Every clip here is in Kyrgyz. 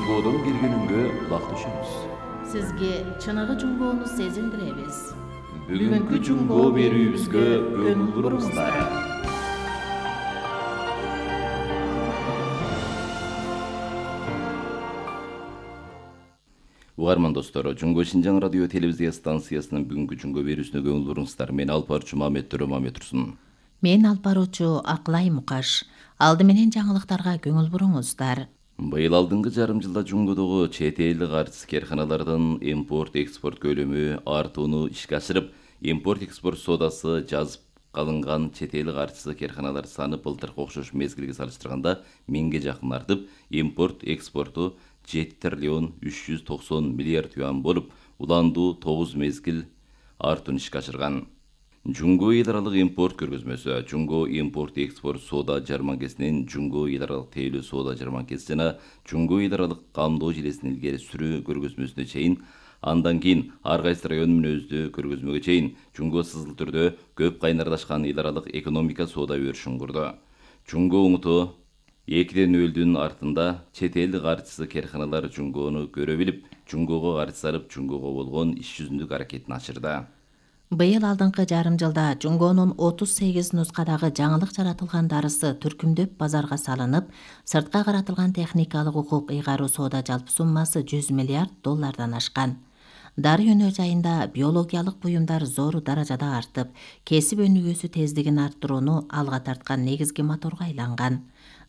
Жунгодон келгенүнгө кулак түшүңүз. Сизге чыныгы жунгоону сезилдиребиз. Бүгүнкү жунгоо берүүбүзгө көңүл буруңуздар. Угарман достор, Жунгоо Шинжаң радио телевизия станциясынын бүгүнкү жунгоо берүүсүнө көңүл буруңуздар. Мен алпарчу Маметтөрө Маметтурсун. Мен алпарчу Акылай Мукаш. Алды менен жаңылыктарга көңүл буруңуздар. Быйыл алдыңкы жарым жылда жунгодогу чет элдик артист карканалардын импорт-экспорт көлөмү артууну ишке ашырып, импорт-экспорт соодасы жазып калынган чет элдик артист карканалар саны былтыркы окшош мезгилге салыштырганда 1000ге жакын артып, импорт-экспорту 7 триллион 390 миллиард юан болуп, уландуу 9 мезгил артууну ишке ашырган. Жунгоо эл аралык импорт көргөзмөсү, Жунгоо импорт-экспорт соода жарманкесинин Жунгоо эл аралык тейлөө соода жарманкеси жана Жунгоо эл аралык камдоо желесинин илгери сүрүү көргөзмөсүнө чейин, андан кийин ар кайсы район мүнөздүү көргөзмөгө чейин Жунгоо сызыл түрдө көп кайнарлашкан эл аралык экономика соода өрүшүн курду. Жунгоо уңуту 2-0 артында чет элдик артист карканалар Жунгоону көрө билип, Жунгоого каржы салып, Жунгоого болгон иш жүзүндүк аракетин ачырды. Быйыл алдыңкы жарым жылда Жунгоонун 38 нускадагы жаңылык жаратылган дарысы түркүмдөп базарга салынып, сыртка каратылган техникалык укук ыйгаруу соода жалпы суммасы 100 миллиард доллардан ашкан. Дары өнөр жайында биологиялык буюмдар зор даражада артып, кесип өнүгүүсү тездигин арттырууну алга тарткан негизги моторго айланган.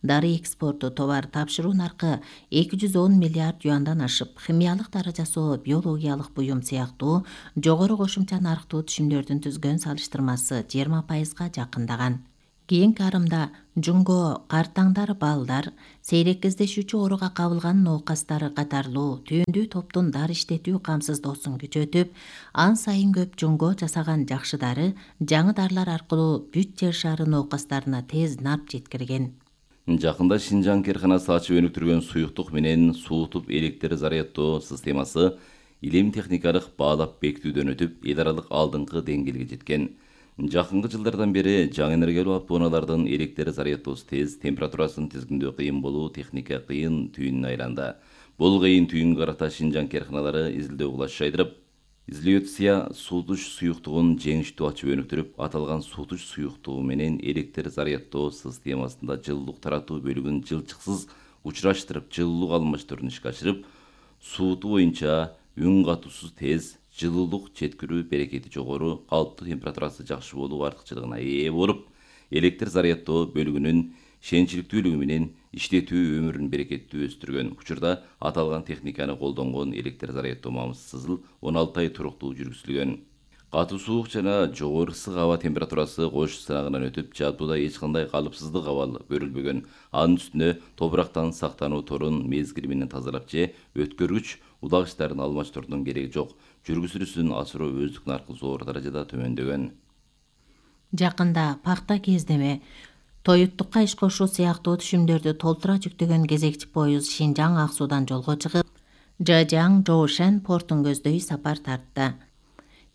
Дары экспорту товар тапшыруу наркы 210 миллиард юандан ашып, химиялык дары жасоо, биологиялык буюм сыяктуу жогору кошумча нарктуу түшүмдөрдүн түзгөн салыштырмасы 20%га жакындаган. Кийинки арымда Жунгоо картаңдар, балдар, сейрек кездешүүчү ооруга кабылган ноокастар катарлуу түйүндүү топтун дары иштетүү камсыздоосун күчөтүп, ан сайын көп Жунгоо жасаган жакшы дары жаңы дарылар аркылуу бүт жер шары ноокастарына тез нарп жеткирген. Жакында Шинжаң карканасы ачып өнүктүргөн суюктук менен суутуп электр заряддоо системасы илим техникалык баалап бекитүүдөн өтүп, эл аралык алдыңкы деңгээлге жеткен. Жакынкы жылдардан бери жаңы энергиялуу автоунаалардын электр заряддоосу тез, температурасын тизгиндөө кыйын болуу техника кыйын түйүнүнө айланды. Бул кыйын түйүнгө карата Шинжаң карканалары изилдөө кылаш жайдырып, изилиоция суутуш суюктугун жеңиштүү ачып өнүктүрүп, аталган суутуш суюктугу менен электр заряддоо системасында жылуулук таратуу бөлүгүн жылчыксыз учураштырып, жылуулук алмаштыруун ишке ашырып, суутуу боюнча үн катуусуз тез, жылуулук жеткирүү берекети жогору, калыптуу температурасы жакшы болуу артыкчылыгына ээ болуп, электр заряддоо бөлүгүнүн ишенчиликтүүлүгү менен иштетүү өмүрүн берекеттүү өстүргөн. Учурда аталган техниканы колдонгон электр заряддоо мамырсызыл 16 ай туруктуу жүргүзүлгөн. Катуу суук жана жогору ысык аба температурасы кош сынагынан өтүп, жаатууда эч кандай калыпсыздык абал көрүлбөгөн. Анын үстүнө топурактан сактануу торун мезгили менен тазалап же өткөргүч улагычтарын алмаштыруудун кереги жок. Жүргүзүүсүн асыруу өздүк наркы зор даражада төмөндөгөн. Жакында пакта кездеме, тоюттукка иш кошуу сыяктуу түшүмдөрдү толтура жүктөгөн кезекчи поезд Шинжаң Ак Суудан жолго чыгып, Жажаң Жоушен портун көздөй сапар тартты.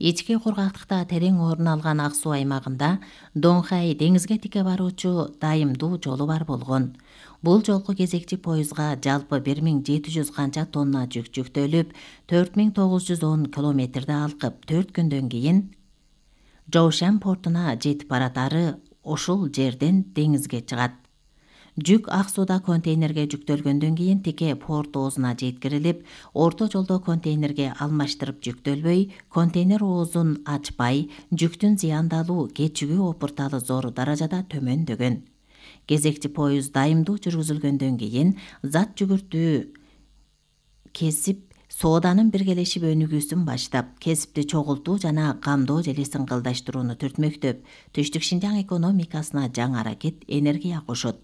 Ички кургактыкта терең орун алган Ак Суу аймагында Донхай деңизге тике баруучу дайымдуу жолу бар болгон. Бул жолку кезекчи поездга жалпы 1700 канча тонна жүк жүктөлүп, 4910 километрди алкып, 4 күндөн кийин Жоушен портуна жетип баратары ушул жерден деңизге чыгат. Жүк Ак Сууда контейнерге жүктөлгөндөн кийин тике порт оозуна жеткирилип, орто жолдо контейнерге алмаштырып жүктөлбөй, контейнер оозун ачпай, жүктүн зыяндалуу, кечигүү опурталы зор даражада төмөндөгөн. Кезекчи поезд дайымдуу жүргүзүлгөндөн кийин зат жүгүртүү кесип, сооданын биргелешип өнүгүүсүн баштап, кесипти чогултуу жана камдоо желесин кылдаштырууну түртмөктөп, Түштүк Шинжаң экономикасына жаңы аракет, энергия кошот.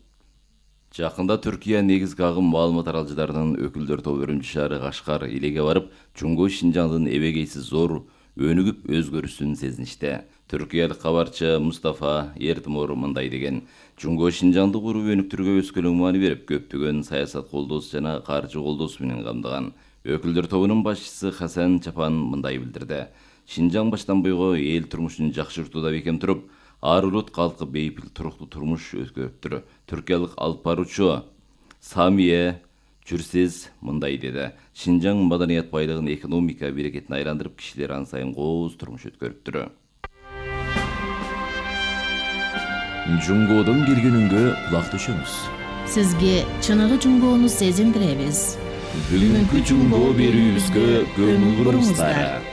Жакында Түркия негизги агым маалымат аралжыларынын өкүлдөр тобу Үрүмчү шаары Кашкар илеге барып, Жунгоо Шинжаңдын эбегейсиз зор өнүгүп өзгөрүшүн сезиништи. Түркиялык кабарчы Мустафа Эртмор мындай деген: Жунгоо Шинжаңды куруп өнүктүрүүгө өскөлөң маани берип, көптөгөн саясат колдоосу жана каржы колдоосу менен камдаган. Өкүлдөр тобунун башчысы Хасан Чапан мындай билдирди: Шинжаң баштан буйго эл турмушун жакшыртууда бекем туруп, ар улут калкы бейпил туруктуу турмуш өткөрүптүр. Түркиялык алып баруучу Самие Жүрсез мындай деди. Шинжаң маданият байлыгын экономика берекетине айландырып, кишилер ан сайын кооз турмуш өткөрүптүр. Жунгоодон келген үнгө кулак түшөңүз. Сизге чыныгы жунгоону сезиндиребиз. Бүгүнкү жунгоо берүүбүзгө көңүл буруңуздар.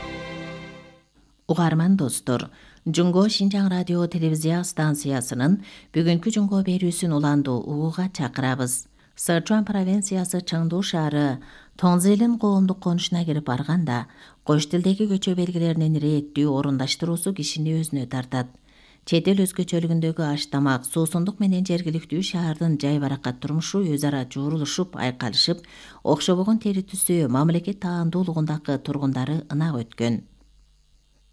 Угарман достор, Жунгоо Шинжаң радио телевизия станциясынын бүгүнкү жунгоо берүүсүн уландуу угууга чакырабыз. Сычуан провинциясы Чыңдуу шаары Тоңзелин коомдук конушуна кирип барганда, кош тилдеги көчө белгилеринин рээттүү орундаштыруусу кишини өзүнө тартат. Чет эл өзгөчөлүгүндөгү аш тамак, суусундук менен жергиликтүү шаардын жайбаракат турмушу өз ара жуурулушуп, айкалышып, окшобогон тери түсү мамлекет таандуулугундагы тургундары ынак өткөн.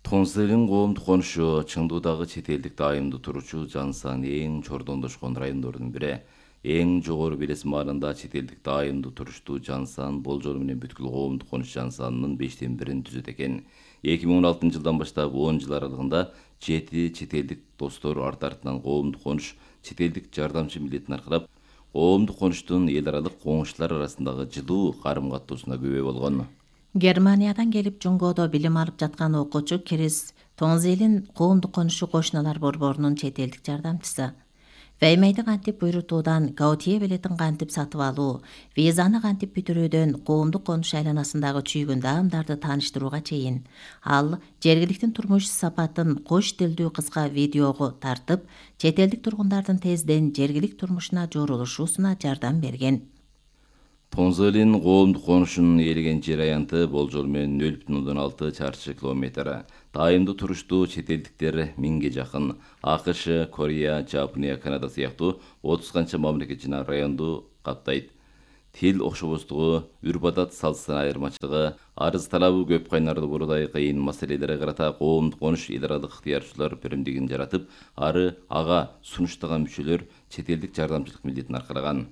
Тоңзелин коомдук конушу Чыңдуудагы чет элдик дайымдуу туруучу жан саны эң чордондошкон райондордун бири. Эң жогору белес маалында чет элдик дайымдуу туруштуу жан сан болжол менен бүткүл коомдук конуш жан санынын 5/1 түзөт экен. 2016 жылдан баштап 10 жыл аралыгында 7 чет элдик достор арт-артынан коомдук конуш чет элдик жардамчы милдетин аркылап, коомдук конуштун эл аралык коңшулар арасындагы жылуу карым-каттоосуна күбө болгон. Германиядан келип жунгоодо билим алып жаткан окуучу Крис Тоңзелин коомдук конушу кошуналар борборунун чет элдик жардамчысы. Веймейди кантип буйрутуудан, Гаутие билетин кантип сатып алуу, визаны кантип бүтүрүүдөн коомдук конуш айланасындагы чүйгүн даамдарды тааныштырууга чейин, ал жергиликтин турмуш сапатын кош тилдүү кыска видеого тартып, чет элдик тургундардын тезден жергилик турмушуна жорулушуусуна жардам берген. Тоңзелин коомдук конушунун ээлеген жер аянты болжол менен 0,6 чарчы километр. Дайымдуу туруштуу чет элдиктер 1000ге жакын. АКШ, Корея, Жапония, Канада сыяктуу 30 канча мамлекет жана районду каптайт. Тил окшобостугу, үрп-адат салттын айырмачылыгы, арыз талабы көп кайнарлуу бурдай кыйын маселелерге карата коомдук конуш эл аралык ыктыярчылар биримдигин жаратып, ага сунуштаган мүчөлөр чет элдик жардамчылык милдетин аркалаган.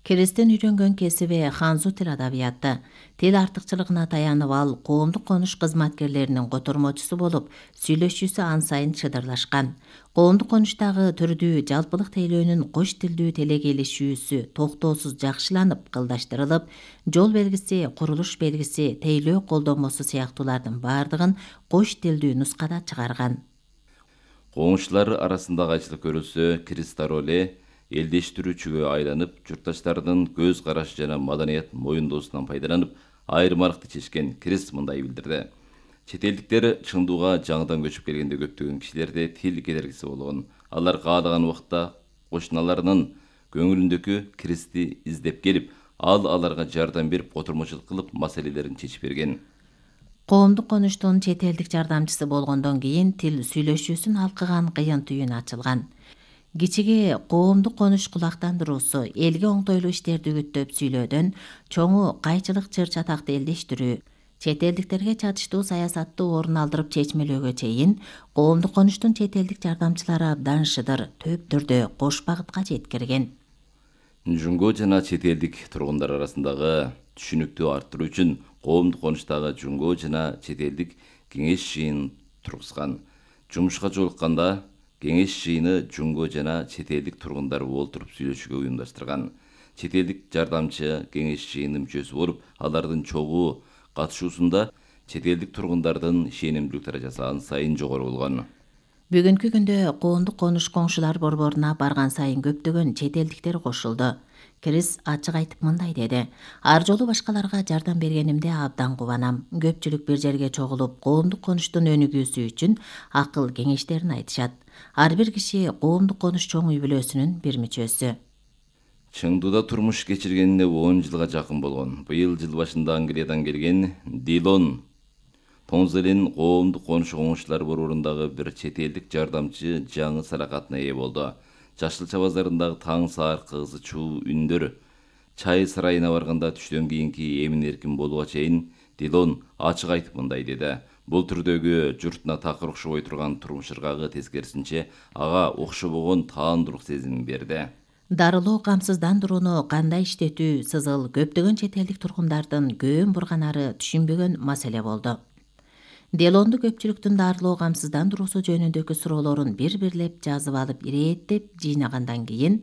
Кристин үйрөнгөн кесиби ханзу тил адабияты. Тил артыкчылыгына таянып ал коомдук конуш кызматкерлеринин котормочусу болуп, сүйлөшүүсү ан сайын чыдырлашкан. Коомдук конуштагы түрдүү жалпылык тейлөөнүн кош тилдүү телегейлешүүсү токтоосуз жакшыланып, кылдаштырылып, жол белгиси, курулуш белгиси, тейлөө колдонмосу сыяктуулардын бардыгын кош тилдүү нускада чыгарган. Коңшулар арасында кайчылык көрүлсө, Кристароле элдештирүүчүгө айланып, журтташтардын көз карашы жана маданият моюндоосунан пайдаланып, айырмалыкты чечкен. Крис мындай билдирди. Чет элдиктер Чыңдууга жаңыдан көчүп келгенде көптөгөн кишилерде тил кедергиси болгон. Алар каалаган убакта кошуналарынын көңүлүндөгү Кристи издеп келип, ал аларга жардам берип, котормочулук кылып, маселелерин чечип берген. Коомдук конуштун чет элдик жардамчысы болгондон кийин тил сүйлөшүүсүн алкыган кыйын түйүн ачылган. Кичиге коомдук конуш кулактандыруусу, элге оңтойлуу иштерди үгүттөп сүйлөөдөн, чоңу кайчылык чыр-чатакты элдештирүү, чет элдиктерге чатыштуу саясатты орун алдырып чечмелөөгө чейин коомдук конуштун чет элдик жардамчылары абдан шыдыр, төп түрдө кош багытка жеткирген. Жунгоо жана чет элдик тургундар арасындагы түшүнүктү арттыруу үчүн коомдук конуштагы жунгоо жана чет элдик кеңеш жыйынын тургузган. Жумушка жолукканда кеңеш жыйыны жунгоо жана чет элдик тургундар олтуруп сүйлөшүүгө уюмдаштырган. Чет элдик жардамчы кеңеш жыйынынын мүчөсү болуп, алардын чогуу катышуусунда чет элдик тургундардын ишенимдүүлүк даражасы ан сайын жогору болгон. Бүгүнкү күндө коомдук конуш коңшулар борборуна барган сайын көптөгөн чет элдиктер кошулду. Крис ачык айтып мындай деди. Ар жолу башкаларга жардам бергенимде абдан кубанам. Көпчүлүк бир жерге чогулуп, коомдук конуштун өнүгүүсү үчүн акыл кеңештерин айтышат. Ар бир киши коомдук конуш чоң үй бүлөсүнүн бир мүчөсү. Чыңдууда турмуш кечиргенине 10 жылга жакын болгон. Быйыл жыл башында Англиядан келген Дилон Тоңзелин коомдук конуш коңшулар борборундагы бир чет элдик жардамчы жаңы саракатына ээ болду. Жашылча базарындагы таң саар кызы чуу үндөр, чай сарайына барганда түштөн кийинки эмин-эркин болууга чейин Дилон ачык айтып мындай деди. Бул түрдөгү журтуна такыр окшобой турган турмуш ыргагы тескерисинче ага окшобогон таандуулук сезимин берди. Дарылоо, камсыздандырууну кандай иштетүү, сызыл көптөгөн чет элдик тургундардын көөн бурганары түшүнбөгөн маселе болду. Делонду көпчүлүктүн дарылоо, камсыздандыруусу жөнүндөгү суроолорун бир-бирлеп жазып алып, ирээттеп жыйнагандан кийин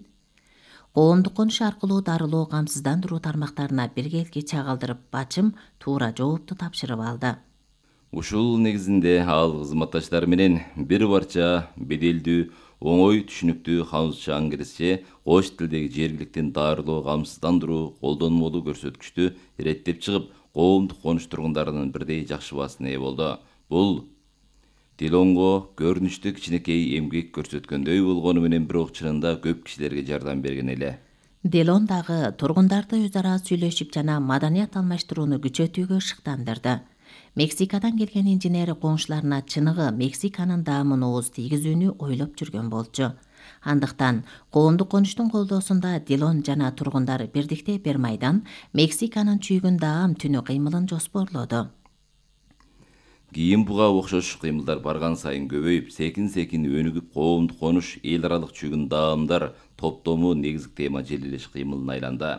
коомдук конуш аркылуу дарылоо камсыздандыруу тармактарына биргелки чагылдырып бачым туура жоопту тапшырып алды. Ушул негизинде ал кызматташтары менен бир парча беделдүү, оңой түшүнүктүү хаусча аңгирисче кош тилдеги жергиликтин дарылоо камсыздандыруу колдонмолуу көрсөткүчтү иреттеп чыгып, коомдук конуш тургундарынын бирдей жакшы баасына ээ болду. Бул Дилонго көрүнүштө кичинекей эмгек көрсөткөндөй болгону менен бирок чынында көп кишилерге жардам берген эле. Дилон дагы тургундарды өз ара сүйлөшүп жана маданият алмаштырууну күчөтүүгө шыктандырды. Мексикадан келген инженери коңшуларына чыныгы Мексиканын даамына ооз тийгизүүнү ойлоп жүргөн болчу. Андыктан коомдук конуштун колдоосунда Дилон жана тургундар бирдикте бир майдан Мексиканын чүйгүн даам түнү кыймылын жоспорлоду. Кийин буга окшош кыймылдар барган сайын көбөйүп, секин-секин өнүгүп, коомдук конуш, эл аралык чүйгүн даамдар топтому негизги тема желилеш кыймылына айланды.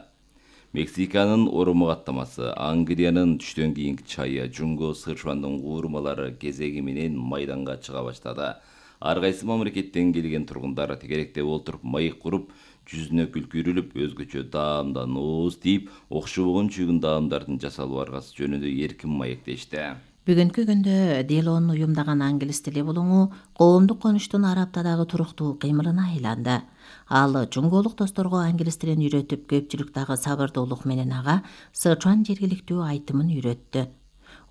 Мексиканын Оромо каттамасы, Англиянын түштөн кийинки чайы, Жунго Сычуандын куурмалары кезеги менен майданга чыга баштады. Ар кайсы мамлекеттен келген тургундар тегеректеп олтуруп майык куруп, жүзүнө күлкү үрүлүп, өзгөчө даамдан ооз тийип, окшобогон чүйгүн даамдардын жасалуу аргасы жөнүндө эркин маектешти. Бүгүнкү күндө Дилон уюмдаган англис тили булуңу коомдук конуштун Араптадагы туруктуу кыймылына айланды. Ал жунголук досторго англис тилин үйрөтүп, көпчүлүк дагы сабырдуулук менен ага Сычуан жергиликтүү айтымын үйрөттү.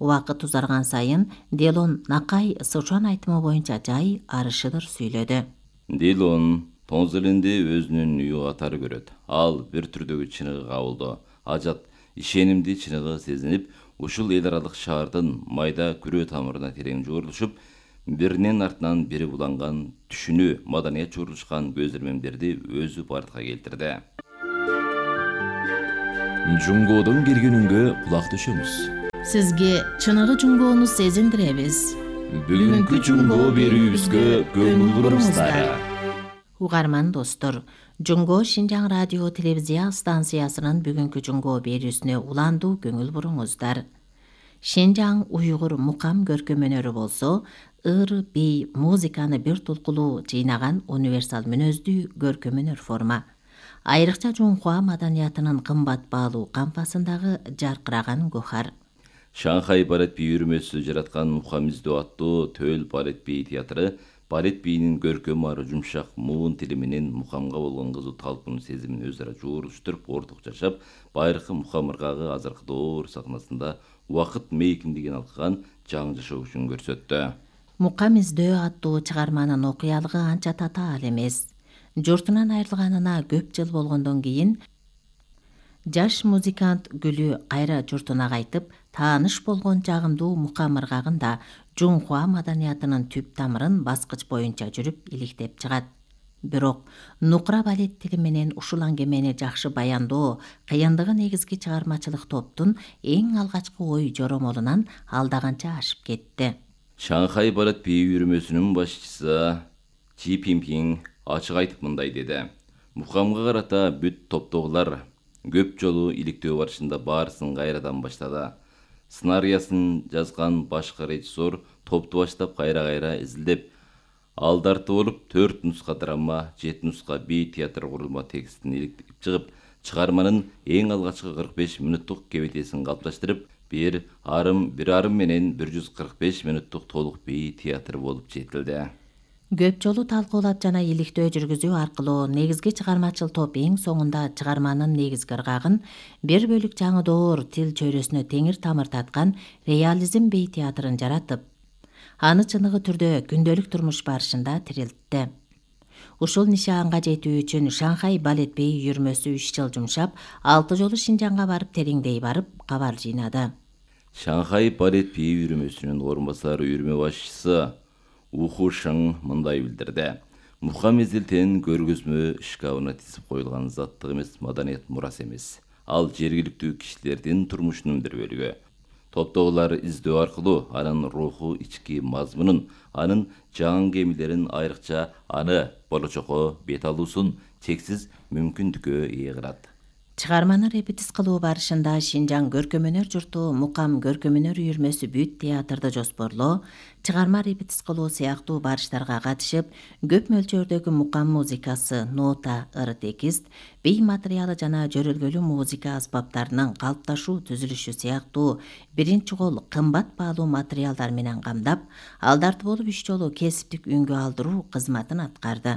Убакыт узарган сайын Дилон накай Сычуан айтымы боюнча жай арышыдыр сүйлөдү. Дилон Тонзелинди өзүнүн үйү катары көрөт. Ал бир түрдөгү чыныгы кабылды. Ажат, ишенимди чыныгы сезинип, ушул эл аралык шаардын майда күрөө тамырына терең жуурулушуп, биринин артынан бири буланган түшүнүү, маданият жуурулушкан көз ирмемдерди өзү бардыкка келтирди. Жунгодон келгенүнгө кулак түшөмүз. Сизге чыныгы жунгоону сезиндиребиз. Бүгүнкү жунго берүүбүзгө көңүл буруңуздар. Угарман достор, Жунго Шинжаң радио телевизия станциясынын бүгүнкү жунго берүүсүнө уландуу көңүл буруңуздар. Шинжаң уйгур мукам көркөм өнөрү болсо, ыр, бий, музыканы бир тулкулуу жыйнаган универсал мүнөздүү көркөм өнөр форма. Айрыкча Жунхуа маданиятынын кымбат баалуу кампасындагы жаркыраган гохар. Шанхай балет бий үйрмөсү жараткан Мукам издөө аттуу төл балет бий театры балет бийинин көркөм ары жумшак муун тили менен мукамга болгон кызуу талпынуу сезимин өз ара жуурулуштуруп, орток жашап, байыркы мукам ыргагы азыркы доор сахнасында убакыт мейкиндигин алкыган жаңы жашоо күчүн көрсөттү. Мукам издөө аттуу чыгарманын окуялыгы анча татаал эмес. Журтунан айрылганына көп жыл болгондон кийин жаш музыкант Гүлү кайра журтуна кайтып, тааныш болгон жагымдуу мукам ыргагында Жунхуа маданиятынын түп тамырын баскыч боюнча жүрүп иликтеп чыгат. Бирок нукра балет тили менен ушул аңгемени жакшы баяндоо кыйындыгы негизги чыгармачылык топтун эң алгачкы ой жоромолунан алдаганча ашып кетти. Шанхай балет бий үйрмөсүнүн башчысы Чи Пинпинг ачык айтып мындай деди. Мукамга карата бүт топтогулар көп жолу иликтөө барышында баарысын кайрадан баштады. Сценариясын жазган башкы режиссер топту баштап кайра изилдеп, алдарты болуп 4 нуска драма, 7 нуска бий театр курулма текстин иликтеп чыгып, чыгарманын эң алгачкы 45 мүнөттүк кебетесин калыпташтырып, 1,5 менен 145 мүнөттүк толук бий театр болуп жетилди. Көп жолу талкуулап жана иликтөө жүргүзүү аркылуу негизги чыгармачыл топ эң соңунда чыгарманын негизги ыргагын бир бөлүк жаңы доор тил чөйрөсүнө теңир тамыр таткан реализм бей театрын жаратып, аны чыныгы түрдө күндөлүк турмуш барышында тирилтти. Ушул нишаанга жетүү үчүн Шанхай балет бей үйрмөсү 3 жыл жумшап, 6 жолу Шинжаңга барып тереңдей барып кабар жыйнады. Шанхай балет бей үйрмөсүнүн орун басары үйрмө башчысы Уху Шың мындай билдирди. Мукам изилтен көргөзмө шкафына тизип коюлган заттык эмес, маданият мурасы эмес. Ал жергиликтүү кишилердин турмушунун бир бөлүгү. Топтогулар издөө аркылуу анын руху, ички мазмунун, анын жаңы кемилерин, айрыкча аны болочокко бет алуусун чексиз мүмкүндүккө ээ кылат. Чыгарманы репетис кылуу барышында Шинжаң көркөм өнөр журту Мукам көркөм өнөр үйүрмөсү бүт театрды жоспорлоо, чыгарма репетис кылуу сыяктуу барыштарга катышып, көп мөлчөрдөгү мукам музыкасы, нота, ыр текст, бий материалы жана жөрөлгөлүү музыка аспаптарынын калыпташуу түзүлүшү сыяктуу биринчи кол кымбат баалуу материалдар менен камдап, алдарты болуп 3 жолу кесиптик үнгө алдыруу кызматын аткарды.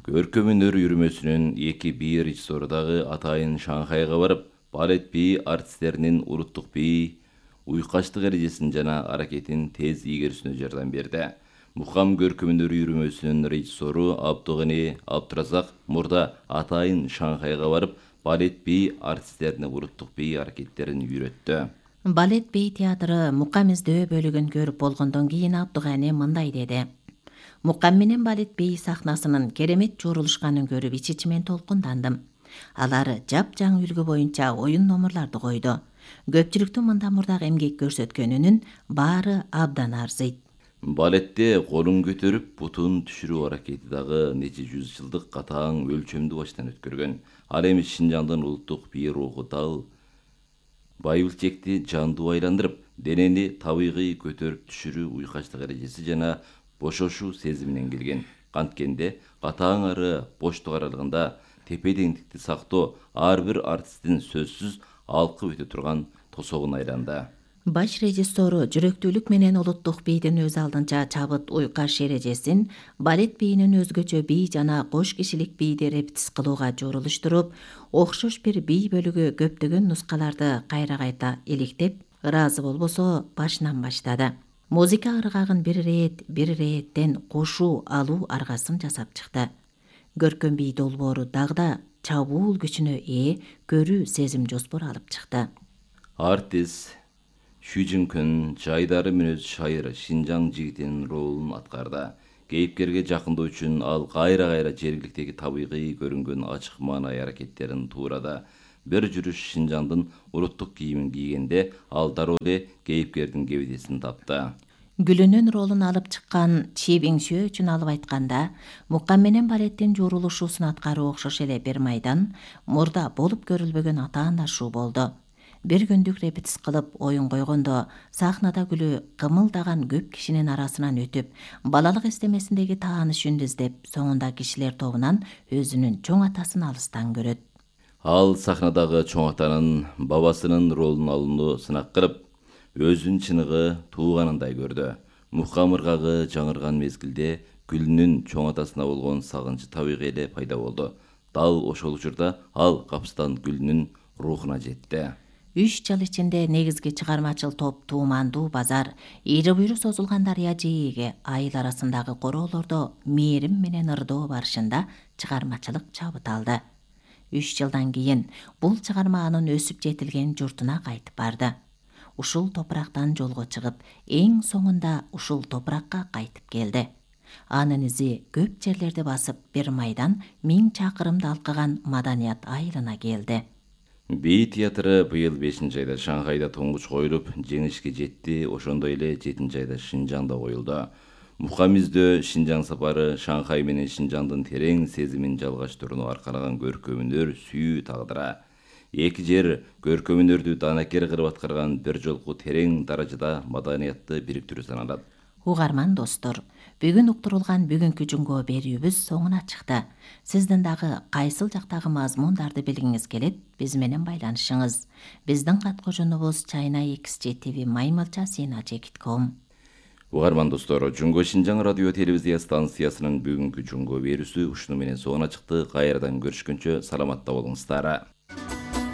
Көркөм өнөр үйүрмөсүнүн 2 режиссеру дагы атайын Шанхайга барып, балет бий артисттеринин улуттук бий уйкаштык эрежесин жана аракетин тез ийгерүүсүнө жардам берди. Мукам көркөм өнөр үйүрмөсүнүн режиссеру Абдугани Абдуразак мурда атайын Шанхайга барып, балет бий артисттерине улуттук бий аракеттерин үйрөттү. Балет бей театры Мукам издөө бөлүгүн көрүп болгондон кийин Абдугани мындай деди: Мукам менен балет бей сахнасынын керемет жуурулушканын көрүп ич-ичимен толкундандым. Алар жапжаң үлгү боюнча оюн номурларды койду. Көпчүлүктүн мында мурдак эмгек көрсөткөнүнүн баары абдан арзыйт. Балетте колун көтөрүп бутун түшүрүү аракети дагы нече жүз жылдык катаң өлчөмдү баштан өткөргөн. Ал эми Шинжаңдын улуттук бий руху дал байбылчекти жандуу айландырып, денени табигый көтөрүп түшүрүү уйкаштык эрежеси жана бошошуу сезиминен келген. Канткенде катаң ары боштук аралыгында тепе-теңдикти сактоо ар бир артисттин сөзсүз алкып өтө турган тосогун айланды. Баш режиссеру жүрөктүүлүк менен улуттук бийдин өз алдынча чабыт уйкаш эрежесин балет бийинин өзгөчө бий жана кош кишилик бийди репетис кылууга жуурулуштуруп, окшош бир бий бөлүгү көптөгөн нускаларды кайра-кайта иликтеп, ыраазы болбосо башынан баштады. Музыка ыргагын бир ирээттен кошуу алуу аргасын жасап чыкты. Көркөм бий долбоору дагы чабуул күчүнө ээ көрүү сезим жоспор алып чыкты. Артист Шүжүнкүн жайдары мүнөз шайыр Шинжаң жигитинин ролун аткарды. Кейипкерге жакындоо үчүн ал кайра-кайра жергиликтеги табигый көрүнгөн ачык маанай аракеттерин туурады. Бир жүрүш Шинжаңдын улуттук кийимин кийгенде ал дароо эле кейипкердин кебедесин тапты. Гүлүнүн ролун алып чыккан Чи Биңсүө үчүн алып айтканда, Мукам менен балеттин жуурулушуусун аткаруу окшош эле бир майдан мурда болуп көрүлбөгөн атаандашуу болду. Бир күндүк репетис кылып оюн койгондо, сахнада Гүлү кымылдаган көп кишинин арасынан өтүп, балалык эстемесиндеги тааныш үндү издеп, соңунда кишилер тобунан өзүнүн чоң атасын алыстан көрөт. Ал сахнадагы чоң атанын бабасынын ролун алууну сынак кылып, өзүн чыныгы тууганындай көрдү. Мукам ыргагы жаңырган мезгилде Гүлүнүн чоң атасына болгон сагынчы табигый эле пайда болду. Дал ошол учурда ал капыстан Гүлүнүн рухуна жетти. 3 жыл ичинде негизги чыгармачыл топ Туумандуу базар, ийри буйру созулган дарыя жээге, айыл арасындагы короолордо мээрим менен ырдоо барышында чыгармачылык чабыт алды. 3 жылдан кийин бул чыгарма анын өсүп жетилген журтуна кайтып барды. Ушул топурактан жолго чыгып, эң соңунда ушул топуракка кайтып келди. Анын изи көп жерлерди басып, бир майдан 1000 чакырымды алкаган маданият айылына келди. Бий театры быйыл 5 айда Шанхайда тоңгуч коюлуп, жеңишке жетти, ошондой эле 7 айда Шинжаңда коюлду. Мукам издөө Шинжаң сапары Шанхай менен Шинжаңдын терең сезимин жалгаштырууну аркалаган көркөм өнөр сүйүү тагдыра. Эки жер көркөм өнөрдү данакер кылып аткарган бир жолку терең даражада маданиятты бириктирүү саналат. Угарман достор, бүгүн уктурулган бүгүнкү жумго берүүбүз соңуна чыкты. Сиздин дагы кайсыл жактагы мазмундарды билгиңиз келет, биз менен байланышыңыз. Биздин кат кожонубуз china.xgtv@mail.cn.com. Угарман достор, Жунго Шинжаң радио телевизия станциясынын бүгүнкү жумго берүүсү ушуну менен соңуна чыкты. Кайрадан көрүшкөнчө саламатта болуңуздар.